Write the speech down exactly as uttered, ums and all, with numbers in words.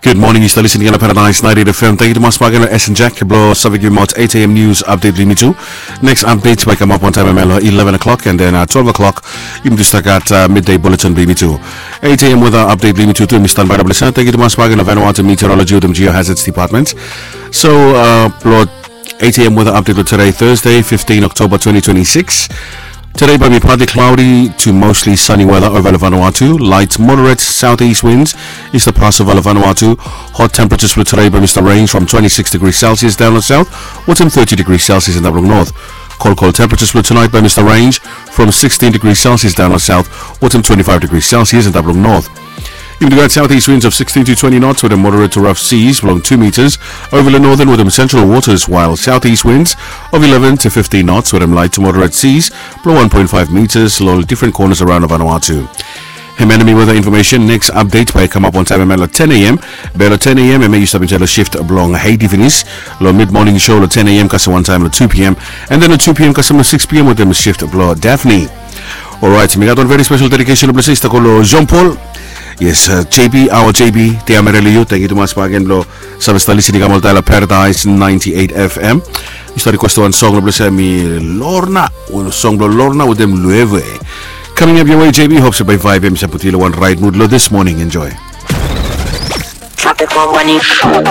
Good morning, yu stap listening long Paradise ninety-eight F M. Tangkiu tumas bakegen long S and Jack blong save givim aot eight A M news update blong yumi tu. Next update bai kamap wantaem hemia long eleven o'clock, and then uh, twelve o'clock yumi tu stap gat uh, midday bulletin blong yumi tu. Eight A M weather update blong yumi tu tu yumi standby long ples ya. Tangkiu tumas bakegen long Vanuatu Meteorology wetem Geohazards Department. So uh, blong eight A M weather update blong today, Thursday, fifteen October twenty twenty-six. Today bai mi partly cloudy to mostly sunny weather over Vanuatu. Light moderate southeast winds is the pass over Vanuatu. Hot temperatures for today by Mr. Range from twenty-six degrees Celsius down the south, wetem thirty degrees Celsius in the north. Cold, cold temperatures for tonight by Mr. Range from sixteen degrees Celsius down the south, wetem twenty-five degrees Celsius in the north. Yumi tu gat southeast winds of sixteen to twenty knots wetem moderate to rough seas blong two meters over the northern wetem central waters, while southeast winds of eleven to fifteen knots wetem light to moderate seas blong one point five meters long different corners around Vanuatu. Hemia nao mi weather information. Next update bai kamap wantaem hemia long ten A M. Be long ten A M hemia yu stap enjoy long shift blong Heidi finis. Long mid morning show long ten A M kasem wantaem long two P M, and then long two P M kasem long six P M wetem shift blong Daphne. Alright, mi gat wan very special dedication blong se i stap go long Jean Paul. Yes, uh, J B, our J B, te amereli yu. Tangkiu tumas bakegen blong save stap listening kam oltaem long Paradise ninety-eight F M. Yu stap request wan song blong se mi Lorna, song blong Lorna wetem Lueve. Coming up your way, J B. Hope se bai vibe ya mi save putum yu long wan right mood long this morning. Enjoy. Tropical Morning Show.